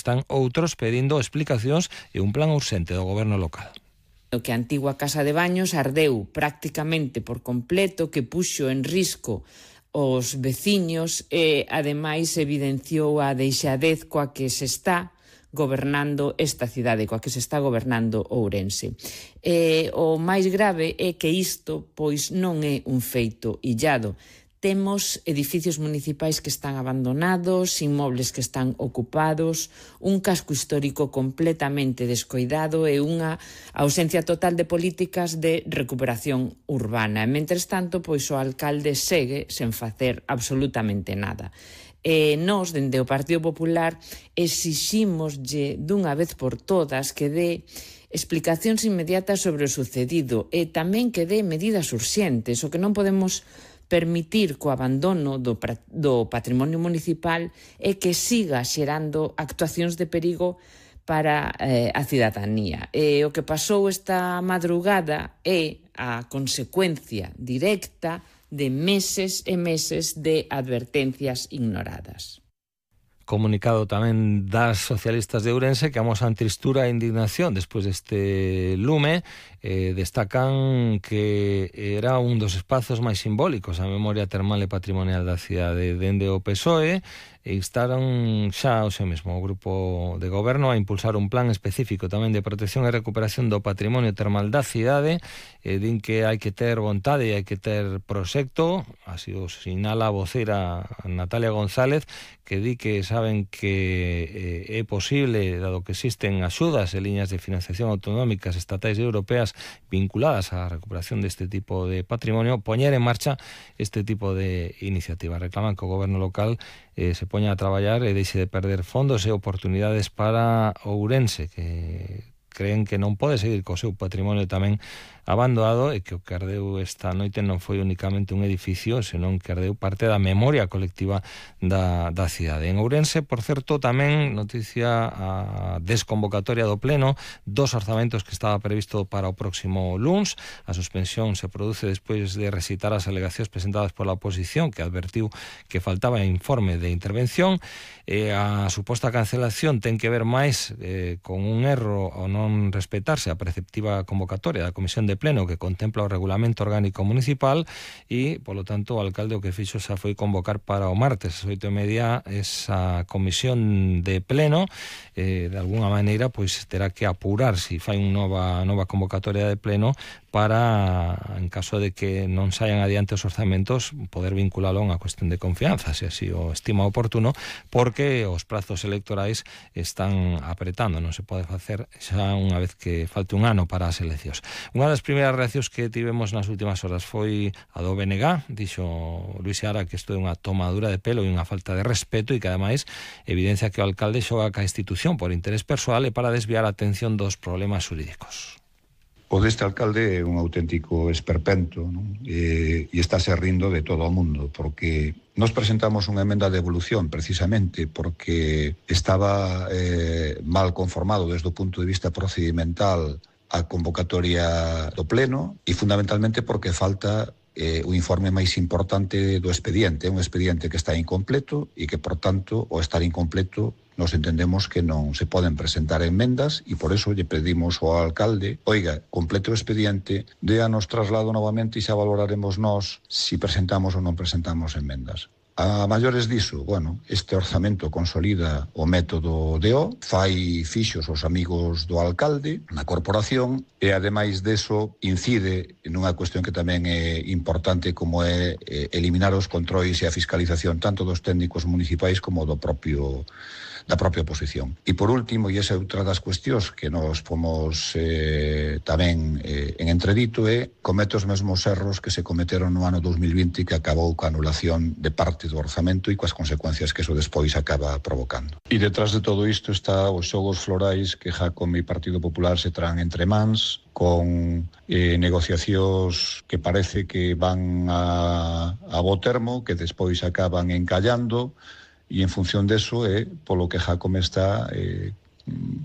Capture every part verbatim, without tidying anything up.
están outros pedindo explicacións e un plan urxente do goberno local. O que a antigua casa de baños ardeu prácticamente por completo, que puxo en risco os veciños e, ademais, evidenciou a deixadez coa que se está gobernando esta cidade, coa que se está gobernando Ourense. E o máis grave é que isto, pois, non é un feito illado. Temos edificios municipais que están abandonados, inmobles que están ocupados, un casco histórico completamente descoidado e unha ausencia total de políticas de recuperación urbana. E, mentres tanto, pois o alcalde segue sen facer absolutamente nada. E nós, dende o Partido Popular, exiximoslle dunha vez por todas que dé explicacións inmediatas sobre o sucedido e tamén que dé medidas urxentes. O que non podemos permitir co abandono do, do patrimonio municipal é que siga xerando actuacións de perigo para eh, a cidadanía. E o que pasou esta madrugada é a consecuencia directa de meses e meses de advertencias ignoradas. Comunicado tamén das socialistas de Ourense que amosan tristura e indignación despois deste lume. Eh, destacan que era un dos espazos máis simbólicos a memoria termal e patrimonial da cidade. Dende o P S O E e instaron xa o seu mesmo grupo de goberno a impulsar un plan específico tamén de protección e recuperación do patrimonio termal da cidade. E din que hai que ter vontade e hai que ter proxecto, así o sinala a voceira Natalia González, que di que saben que eh, é posible, dado que existen axudas e liñas de financiación autonómicas, estatais e europeas vinculadas á recuperación deste tipo de patrimonio, poñer en marcha este tipo de iniciativas. Reclaman que o goberno local eh, se poña a traballar e deixe de perder fondos e oportunidades para Ourense, que creen que non pode seguir co seu patrimonio tamén abandonado e que o que ardeu esta noite non foi únicamente un edificio, senón que ardeu parte da memoria colectiva da, da cidade. En Ourense, por certo, tamén noticia a desconvocatoria do Pleno dos orzamentos que estaba previsto para o próximo luns. A suspensión se produce despois de recitar as alegacións presentadas pola oposición, que advertiu que faltaba informe de intervención. E a suposta cancelación ten que ver máis eh, con un erro ao non respetarse a preceptiva convocatoria da Comisión de Pleno que contempla o Regulamento Orgánico Municipal e, polo tanto, o alcalde o que fixo xa foi convocar para o martes as oito e media esa Comisión de Pleno. Eh, de alguna maneira, pois terá que apurar se fai unha nova, nova convocatoria de Pleno para, en caso de que non saian adiante os orzamentos, poder vinculalo a unha cuestión de confianza, se así o estima oportuno, porque os prazos electorais están apretando, non se pode facer xa unha vez que falte un ano para as eleccións. Unha das primeiras reaccións que tivemos nas últimas horas foi a do B N G. Dixo Luis Seara que isto é unha tomadura de pelo e unha falta de respeto e que, ademais, evidencia que o alcalde xoga ca institución por interés persoal e para desviar a atención dos problemas xurídicos. O deste alcalde é un auténtico esperpento, non? E, e está se rindo de todo o mundo, porque nos presentamos unha emenda de evolución precisamente porque estaba eh, mal conformado desde o punto de vista procedimental a convocatoria do Pleno e fundamentalmente porque falta eh, o informe máis importante do expediente, un expediente que está incompleto e que, por tanto, ao estar incompleto, nos entendemos que non se poden presentar enmendas e por eso lle pedimos ao alcalde, oiga, complete o expediente, déanos traslado novamente e xa valoraremos nós si presentamos ou non presentamos enmendas. A maiores diso, bueno, este orzamento consolida o método D O, fai fixos os amigos do alcalde na corporación e, ademais deso, incide nunha cuestión que tamén é importante como é eliminar os controis e a fiscalización tanto dos técnicos municipais como do propio da propia oposición. E por último, e esa é outra das cuestións que nos fomos eh, tamén eh, en entredito, é comete os mesmos erros que se cometeron no ano dos mil vinte que acabou ca anulación de parte do orzamento e coas consecuencias que eso despois acaba provocando. E detrás de todo isto está os xogos florais que Jacome e Partido Popular se traen entre mans, con eh, negociacións que parece que van a, a bo termo, que despois acaban encallando, e en función deso é polo que Jacome está eh,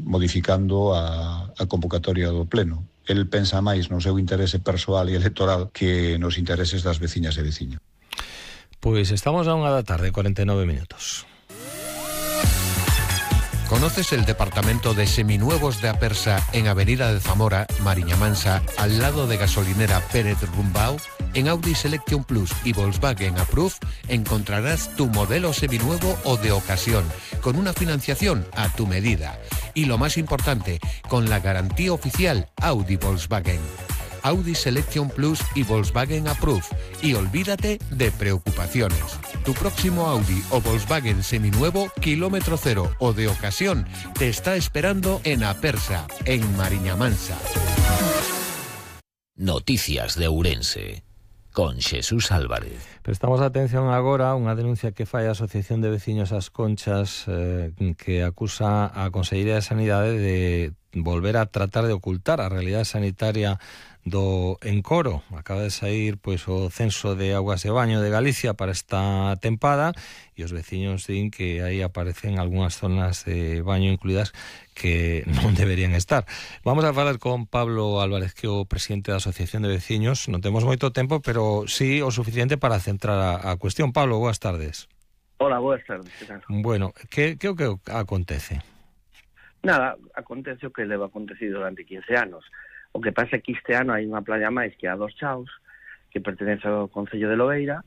modificando a, a convocatoria do Pleno. El pensa máis no seu interese persoal e electoral que nos intereses das veciñas e veciños. Pois estamos a unha da tarde, cuarenta e nove minutos. ¿Conoces el departamento de seminuevos de Apersa en Avenida de Zamora, Mariña Mansa, al lado de gasolinera Pérez Rumbao? En Audi Selection Plus y Volkswagen Approve encontrarás tu modelo seminuevo o de ocasión, con una financiación a tu medida. Y lo más importante, con la garantía oficial Audi Volkswagen. Audi Selection Plus y Volkswagen Approve. Y olvídate de preocupaciones. Tu próximo Audi o Volkswagen seminuevo, kilómetro cero o de ocasión, te está esperando en Apersa, en Mariña Mansa. Noticias de Ourense, con Xesús Álvarez. Prestamos atención agora a unha denuncia que fai a Asociación de Veciños As Conchas, eh, que acusa a Consellería de Sanidade de volver a tratar de ocultar a realidade sanitaria do Encoro. Acaba de sair pois o censo de augas de baño de Galicia para esta tempada e os veciños din que aí aparecen algunhas zonas de baño incluídas que non deberían estar. Vamos a falar con Pablo Álvarez, que é o presidente da Asociación de Veciños. Non temos moito tempo, pero sí o suficiente para centrar a, a cuestión. Pablo, boas tardes. Hola, boas tardes. Que tal? Bueno, que, que o que acontece? Nada, acontece o que leva acontecido durante quince anos. O que pasa é que este ano hai unha playa máis que a dos Chaos, que pertenece ao Concello de Lobeira.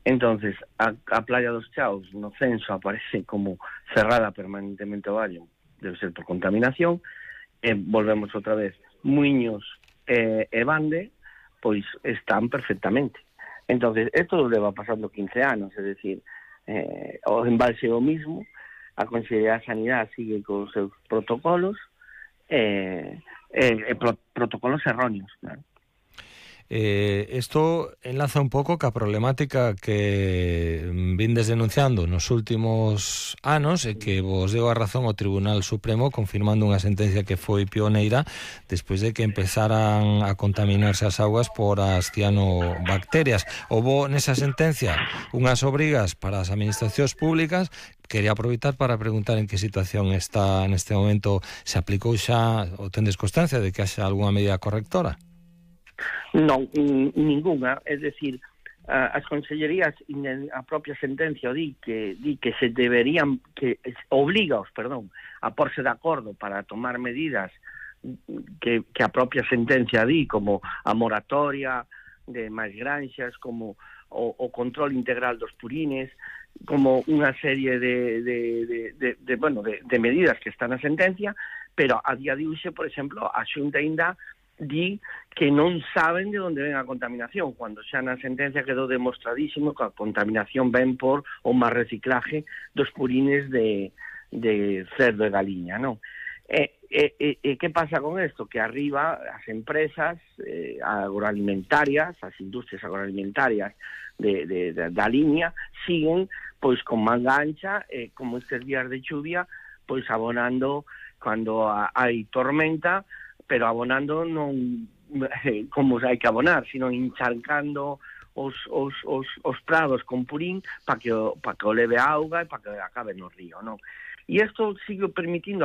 Entonces, a, a playa dos Chaos no censo aparece como cerrada permanentemente ao baño, debe ser por contaminación, e volvemos outra vez. Muiños e, e Bande, pois están perfectamente. Entonces, isto leva pasando quince anos, é dicir, eh, o embalse é o mismo, a Consellería de Sanidade sigue con os seus protocolos, e... Eh, eh, pro, protocolos erróneos, claro. Eh, esto enlaza un pouco ca problemática que vindes denunciando nos últimos anos e que vos deu a razón o Tribunal Supremo confirmando unha sentencia que foi pioneira despois de que empezaran a contaminarse as augas por as cianobacterias. Houbo nesa sentencia unhas obrigas para as administracións públicas. Quería aproveitar para preguntar en que situación está neste momento. Se aplicou xa ou tendes constancia de que haxa algunha medida correctora? Non, ningunha, é dicir, as consellerías, a propia sentencia di que di que se deberían, que obligaos, perdón, a porse de acordo para tomar medidas que, que a propia sentencia di, como a moratoria de máis granxas, como o, o control integral dos purines, como unha serie de, de, de, de, de, bueno, de, de medidas que están na sentencia, pero a día de hoxe, por exemplo, a Xunta ainda di que non saben de onde ven a contaminación, cando xa na sentencia quedou demostradísimo que a contaminación ven por o má reciclaje dos purines de, de cerdo e galiña, non? E, e, e, e que pasa con isto? Que arriba as empresas eh, agroalimentarias, as industrias agroalimentarias de, de, de, da liña, siguen pois con manga ancha, eh, como estes días de chuvia, pois abonando cando hai tormenta, pero abonando non eh, como hai que abonar, sino encharcando os, os, os, os prados con purín para que, pa que o leve a auga e para que acabe no río, non? E isto sigue permitindo